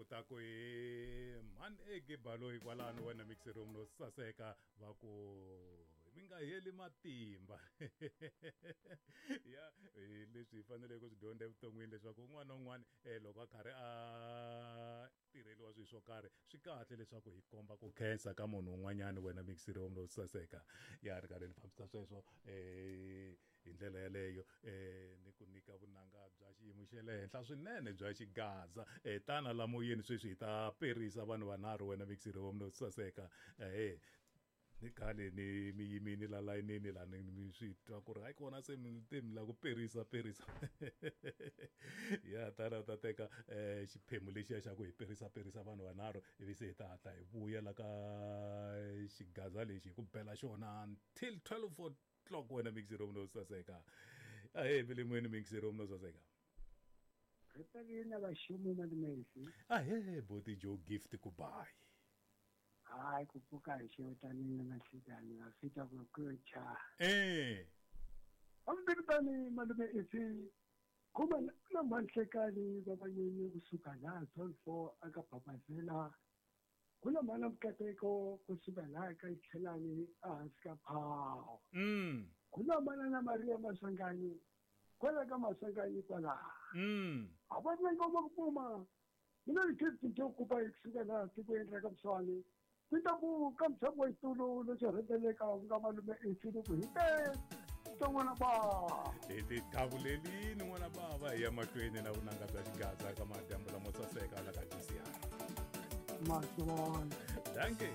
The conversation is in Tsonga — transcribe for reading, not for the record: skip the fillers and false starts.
Ku ta ku hi mhani ege baloyi kwalano wena mixer room no saseka va ku mi nga heli matimba. Ya hi leswi hi faneleke ku swi dyondza evuton'wini leswaku un'wana na un'wana loko a karhi a tirheliwa swilo swo karhi swi kahle leswaku hi komba ku khensa ka munhu un'wanyana wena mixer room no saseka. Ya ri karhi ni fambisa sweswo hi ndlela yeleyo ni ku nyika vunanga bya xiyimo xa le henhla swinene bya xigaza. Tana la moyeni sweswi hi ta perisa vanhu vanharhu wena mixer room no saseka. Ni khale ni mi yimini la layinini la ni mi swi twa ku ri hayi kona se mi te mi lava ku perisa perisa. Ya tana ta teka xiphemu lexiya xa ku hi perisa perisa vanhu vanharhu ivi se hi ta hatla hi vuya la ka xigaza lexi hi ku bela xona until 12 o'clock wena mixer room no saseka. Ahee milimweni mixer room no saseka. Ri tsakile vaxumi malume. Ahee boti Joe Gift ku bayi. Hayi ku pfuka hi xewutanini na nhlikani va fika ku kucha. Hambirikani malume ifi kuma na manhlekani va vanyeni kusuka laha zone 4 aka Babazela. Ku na mhana Mukateko kusuka laha ka Tlhelani ehansi ka Phawu. Ku na mana na Maria Maswanganyi kwala ka Maswanganyi kwalaha. A va na ngoma ku puma. Mina ni Gift Joe Kupa kusuka laha tikweni ra ka Mswani. Ku ta ku ka mutshami wa xitulu lexo rhendzeleka ku nga malume Ifini ku hi te n'wana bava. Hi ti davulelini n'wana bava hi ya mahlweni na vunanga bya xigaza ka madyambu lamo saseka la ka GCR. Maswona. Dankie.